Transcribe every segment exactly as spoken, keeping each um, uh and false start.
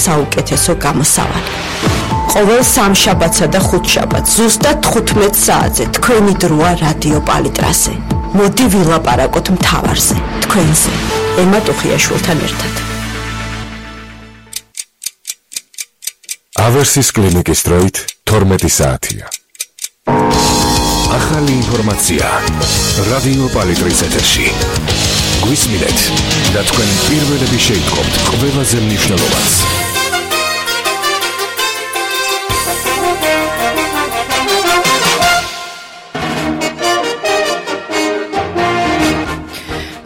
საუკეთესო გამოსავალი. ყოველ სამშაბათსა და ხუთშაბათს ზუსტად თხუთმეტ საათზე თქვენი დროა რადიო პალიტრაზე. მოდი ვილაპარაკოთ მთავარზე, თქვენზე, ემა ტუხიაშვილთან ერთად. ავერსის კლინიკის დროით თორმეტი საათია. ახალი ინფორმაცია რადიო პალიტრის ეთერში. გვისმინეთ და თქვენ პირველები შეიტყობთ ყველაზე მნიშვნელოვანს.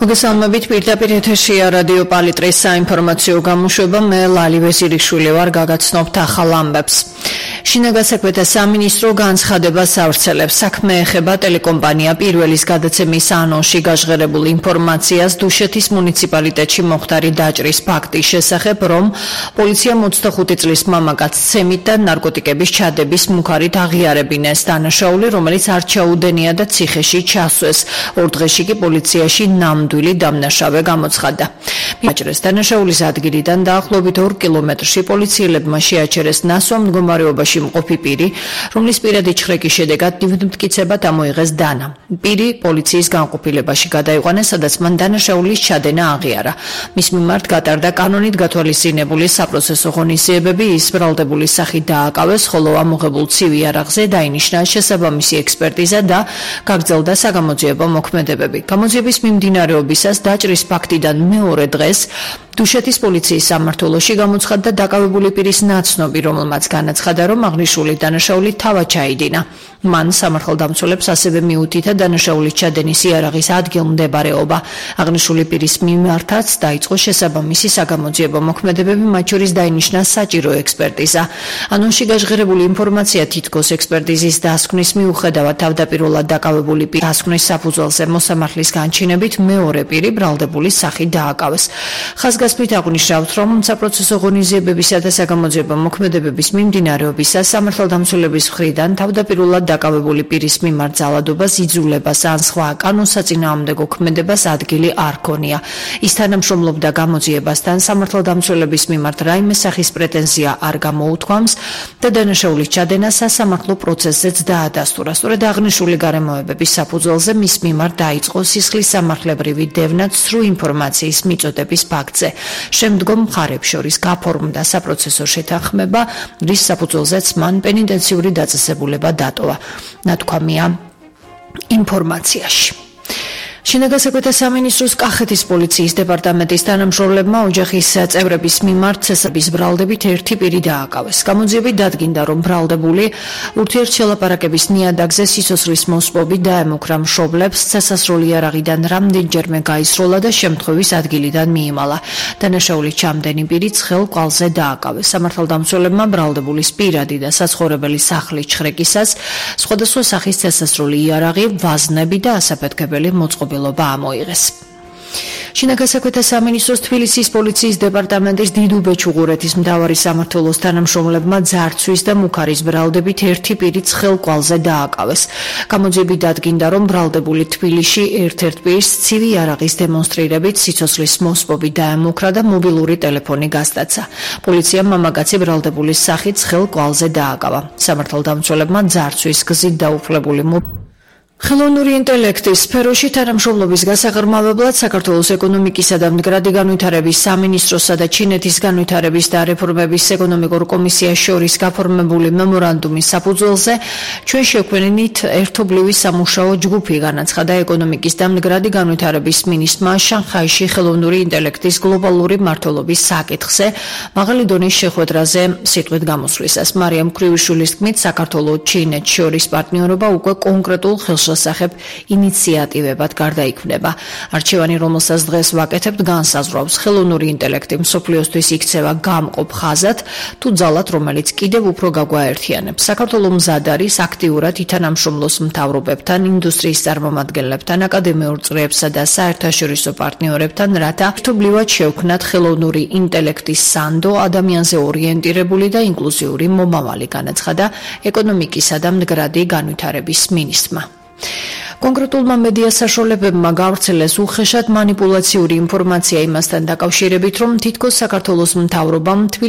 მოგესალმებით, პირდაპირ ეთერშია რადიო პალიტრის საინფორმაციო გამოშვება. მე ლალი ვეზირიშვილი ვარ, გაგაცნობთ ახალ ამბებს. შინაგან საქმეთა სამინისტრო განცხადებას ავრცელებს. საქმე ეხება ტელეკომპანია პირველის გადაცემის ანონსში გაჟღერებულ ინფორმაციას დუშეთის მუნიციპალიტეტში მოხდარი დაჭრის ფაქტის შესახებ, რომ პოლიციამ ოცდახუთი წლის მამაკაცს ცემით და ნარკოტიკების ჩადების მუქარით აღიარებინეს. დანაშაული, რომელიც არ ჩაუდენია და ციხეში ჩასვეს. ორ დღეში კი პოლიციაში ნამდვილი დამნაშავე გამოცხადდა. დაჭრეს დანაშაულის ადგილიდან დაახლოებით ორ კილომეტრში პოლიციელებმა შეაჩერეს ნასვამ მდგომარეობაში მყოფი პირი, რომლის პირადი ჩხრეკის შედეგად მტკიცებად ამოიღეს დანა. პირი პოლიციის განყოფილებაში გადაიყვანეს, სადაც მან დანაშაულის ჩადენა აღიარა. მის მიმართ გატარდა კანონით გათვალისწინებული საპროცესო ღონისძიებები, ის ბრალდებული სახით დააკავეს, ხოლო ამოღებულ ცივი იარაღზე დაინიშნა შესაბამისი ექსპერტიზა და გაგრძელდა საგამოძიებო მოქმედებები. გამოძიების მიმდინარეობისას დაჭრის ფაქტიდან მეორე დღეს დუშეთის პოლიციის სამმართველოში გამოცხადდა დაკავებული პირის ნაცნობი, რომელმაც განაცხადა, რომ აღნიშნული დანაშაული თავად ჩაიდინა. მან სამართალდამცველებს ასევე მიუთითა დანაშაულის ჩადენის იარაღის ადგილმდებარეობა. აღნიშნული პირის მიმართაც დაიწყო შესაბამისი საგამოძიებო მოქმედებები, მათ შორის დაინიშნა საჭირო ექსპერტიზა. ანონსში გაჟღერებული ინფორმაცია თითქოს ექსპერტიზის დასკვნის მიუხედავად თავდაპირველად დაკავებული პირის დასკვნის საფუძველზე მოსამართლის განჩინებით მეორე პირი ბრალდებული სახით დააკავეს. ხაზგასმით აღნიშნავთ, რომ საპროცესო ღონისძიებებისა და საგამოძიებო მოქმედებების მიმდინარეობისას სამართალდამცველების მხრიდან თავდაპირველად დაკავებული პირის მიმართ ძალადობას, იძულებას ან სხვა კანონსაწინააღმდეგო ქმედებას ადგილი არ ქონია. ის თანამშრომლობდა გამოძიებასთან, სამართალდამცველების მიმართ რაიმე სახის პრეტენზია არ გამოუთქვამს და დანაშაულის ჩადენა სასამართლო პროცესზეც დაადასტურა. სწორედ აღნიშნული გარემოებების საფუძველზე მის მიმართ დაიწყო სისხლის სამართლებრივი დევნა ცრუ ინფორმაციის მიწოდების ფაქტზე. შემდგომ მხარებს შორის გაფორმდა საპროცესო შეთანხმება, რის საფუძველზეც მან პენიტენციური დაწესებულება დატოვა. ნათქვამია ინფორმაციაში. შინაგან საქმეთა სამინისტროს კახეთის პოლიციის დეპარტამენტის თანამშრომლებმა ოჯახის წევრების მიმართ ცესების ბრალდებით ერთი პირი დააკავეს. გამოძიებით დადგინდა, რომ ბრალდებული ურთიერთშელაპარაკების ნიადაგზე სიცოცხლის მოსპობით დაემუქრა მშობლებს, ცესასროლი იარაღიდან რამდენჯერმე გაისროლა და შემთხვევის ადგილიდან მიიმალა. დანაშაულის ჩამდენი პირი ცხელ კვალზე დააკავეს. სამართალდამცველებმა ბრალდებულის პირადი და საცხოვრებელი სახლის ჩხრეკისას სხვადასხვა სახის ცესასროლი იარაღი, ვაზნები და ასაფეთქებელი მოწყობილობა ამოიღეს. შინაგან საქმეთა სამინისტროს თბილისის პოლიციის დეპარტამენტის დიდუბე-ჩუღურეთის მთავარი სამმართველოს თანამშრომლებმა ძარცვის და მუქარის ბრალდებით ერთი პირი ცხელ კვალზე დააკავეს. გამოძიებით დადგინდა, რომ ბრალდებული თბილისში ერთ-ერთ პირს ცივი იარაღის დემონსტრირებით სიცოცხლის მოსპობით დაემუქრა და მობილური ტელეფონი გასტაცა. პოლიციამ მამაკაცი ბრალდებულის სახით ცხელ კვალზე დააკავა. სამართალდამცველებმა ძარცვის გზით დაუფლებული ხელოვნური ინტელექტის სფეროში თანამშრომლობის გასაღრმავებლად საქართველოს ეკონომიკისა და მდგრადი განვითარების სამინისტროსა და ჩინეთის განვითარების და რეფორმების ეკონომიკურ კომისიას შორის გაფორმებული მემორანდუმის საფუძველზე ჩვენ შევქმნით ერთობლივი სამუშაო ჯგუფი, განაცხადა ეკონომიკის და მდგრადი განვითარების მინისტრმა შანხაიში ხელოვნური ინტელექტის გლობალური მმართველობის საკითხზე მაღალი დონის შეხვედრაზე სიტყვით გამოსვლისას. მარიამ ქრივიშვილის თქმით, საქართველოს-ჩინეთს შორის პარტნიორობა უკვე კონკრეტულ ხელშეწყობილებას შესახებ ინიციატივებად გარდაიქმნება. არჩევანი, რომელსაც დღეს ვაკეთებთ, განსაზღვრავს ხელოვნური ინტელექტი მსოფლიოსთვის იქცევა გამყოფ ხაზად თუ ძალად, რომელიც კიდევ უფრო გაგვაერთიანებს. საქართველო მზად არის აქტიურად ითანამშრომლოს მთავრობებთან, ინდუსტრიის წარმომადგენლებთან, აკადემიურ წრეებსა და საერთაშორისო პარტნიორებთან, რათა ერთობლივად შევქმნათ ხელოვნური ინტელექტის სანდო, ადამიანზე ორიენტირებული და ინკლუზიური მომავალი, განაცხადა ეკონომიკისა და მდგრადი განვითარების მინისტრმა. კონკრეტულმა მედია საშუალებებმა გავრცელეს უხეშად მანიპულაციური ინფორმაცია იმასთან დაკავშირებით, რომ თითქოს საქართველოს მთავრობამ